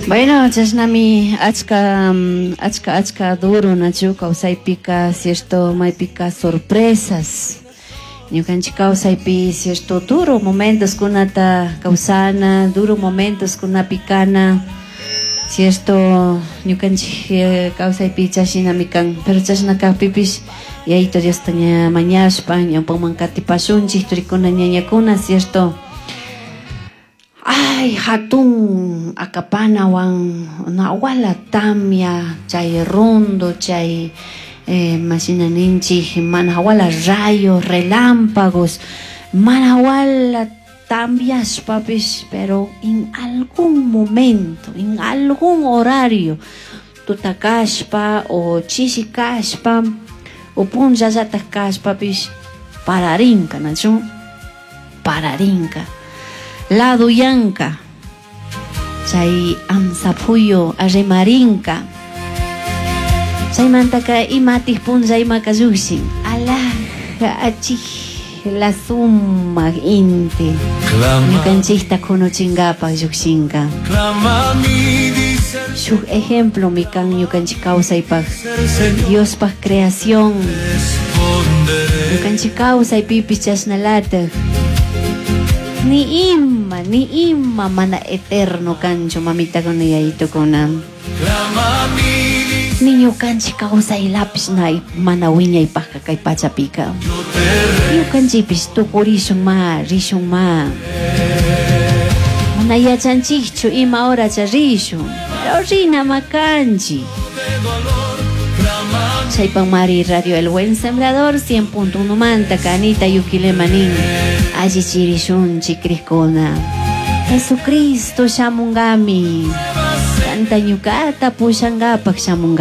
Bueno, chashnami achka achka achka duro nachu kawsaypika, cierto, maypika sorpresas. Ñukanchik kawsaypi, cierto, duro momentos kunata kawsana, duro momentos kunapi kana, cierto, ñukanchik kawsaypi chashinami kan. Pero chashna kajpipish Yayito Diosta ña mañashpa ñawpaman katipashunchik turikuna ñañakuna, cierto. Ay, hatun akapanawan nawala tamia chay rondo chay mashina ninchik mana hawala rayos, relámpagos, mana hawala tambiashpapish, pero en algún momento, en algún horario, tuta kashpa o chishi kashpa o punllallataj kashpapish pararinka, nachu? Pararinka. Laduyanka chay amsapuyo arremarinka chaymantaka imatik punlla imaka llukshin alaja achikla sumak inti ñukanchikta kunuchinkapak llukshinka. Shuk ejemplomi kan ñukanchik kawsaypak Diospaj creación ñukanchik kawsaypipish chashnalatak ni ima, ni ima mana eterno kanchu mamitakuna yayitukuna. Ni ñukanchik kawsaylapish na mana wiñaypajka kay pachapika. Ñukanchikpish tukurishun ma, rishun ma. Mana yachanchikchu ima horacha rishun, pero rinama kanchik. Chaypamari Radio El Buen Sembrador 100.1 manta Anita Yuquilema nin allichirishunchik krikuna. Jesucristo shamungami. Kanta ñukata pushankapak shamunga.